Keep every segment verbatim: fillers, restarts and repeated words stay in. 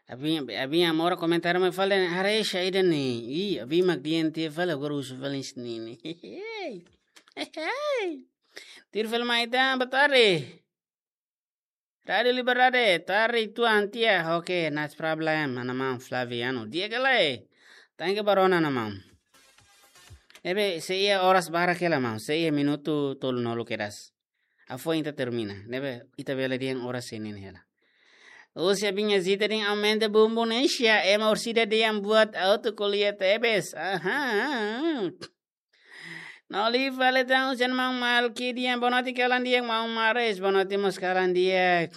Abin, abin amora komentar mai fali, haree sha ida ne'e. Ih, abin mak dehan tiha fali, agora husu fali ne'e. Hey, hey, hey. Tuir fali mai tan, boa tarde. Rádio Liberdade, tarde tuan tiha. Oke, not problem, mana maun Flaviano. Di'ak ka lae? Thank you ba rona, mana maun. Ne'ebé, sei iha oras barak hela, maun. Sei iha minutu tolunulu kedas. Afoin ita termina. Ne'ebé, ita bele dehan oras sei nini hela. Husi abin Zita dehan aumenta bumbum ne'e sha, ema orsida dehan buat auto ko'alia tebes. Aha. Na'in-lima fali tan husi maun Malki dehan boa noite, kalan di'ak maun Maris, boa noite mós kalan di'ak.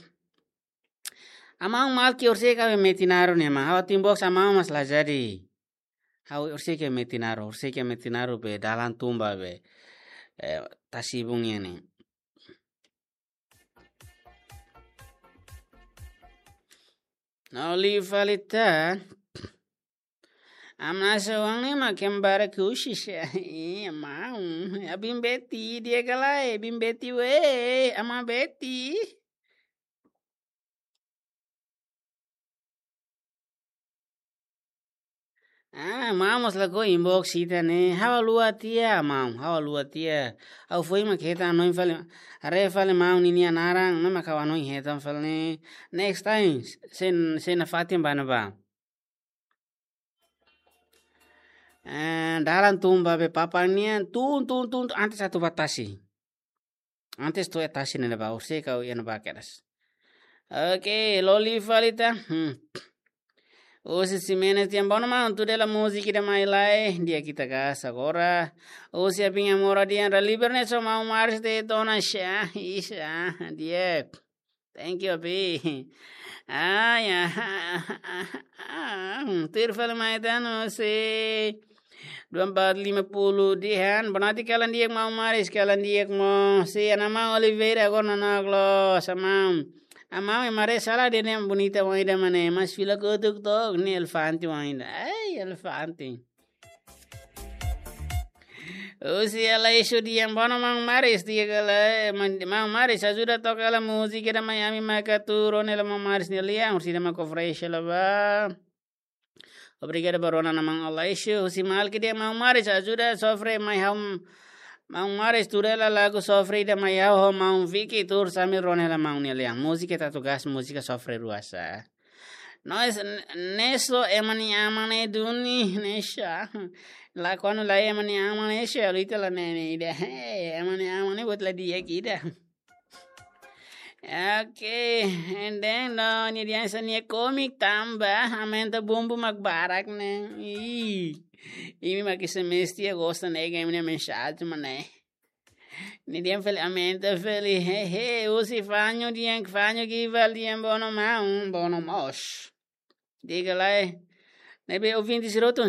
Maun Malki, orsida ka be metin arru ne'e, maun? Ha'u inbox maun mas la jadi. Ha'u orsida ka metin arru, orsida ka metin arru be dalan tun ba be, eh, tasi-ibun nian ne'e. Na'in-lima fali tan. Amna sa wang ne'e mak kembara kusis. Iya, maun. Abin Beti, di'ak ka lae? Abin Beti we, ama Beti. Ah, maun mós lakohi inbox ita ne'e. Ha'u haluha tiha, maun. Ha'u haluha tiha. Ha'u foin mak hetan hanoin fali. Haree fali maun ninia naran, no mak ha'u hanoin hetan fali ne'e. Next time, sei, sei nafatin ba ne'ebá. Eh, dalan tun ba be Papang nian, tun, tun, tun, tun, antes atu ba tasi. Antes to'o iha tasi ne'ebá, orsida ka iha ne'ebá kedas. Oke, loli fali tan. Hmm. Husi Ximenes dehan boa noite maun, tuir hela múzika ida mai lai, di'ak ita gasta agora. Husi abin amora dehan Raliber ne'e só maun Maris de'it ona sha, isa, di'ak. Thank you, abi. Ah, ya. Tuir fali mai tan husi dua empat lima puluh dehan, boa noite kalan di'ak maun Maris, kalan di'ak mós. Husi Ana Maun Oliveira, agora nanook loos, maun. Maun, ema haree sala dehan bonita oan ida mak ne'e, mas fila kotuk tok, ne'e elefante oan ida. Ai, elefante. Husi Alaixo dehan boa noite maun Maris, di'ak ka lae, maun, maun Maris, ajuda toka hela múzika ida mai ami maka tuur ona hela maun Maris nia lian, orsida mak kofresh hela ba. Obrigadu ba rona, maun Alaixo. Husi Malki dehan maun Maris, ajuda sofre mai ha'u, maun Maris, tuur hela lagu sofre ida mai ha'u ho maun Vicky, tuur sambil rona hela maun nia lian. Múzika ita atu gasta, múzika sofre rua sa. No es, n-, ne'e só ema nia aman ne'e duni, ne'e sha. La kuandu la ema nia aman ne'e sha, luita la ne'e, ne'e ida. Hey, ema nia aman ne'e buat la di'ak ida. Oke, and then no, nia dehan sá nia komik tanba, aumenta bumbum mak barak ne'e. Ih, imi mak semestre gosta ne'e, imi nia mensajen mak ne'e. Nia dehan fali aumenta fali, hehe, husi Fanho dehan, Fanho Gival dehan boa noite maun, boa noite mós. Di'ak ka lae? Ne'ebé ouvinte sira hotu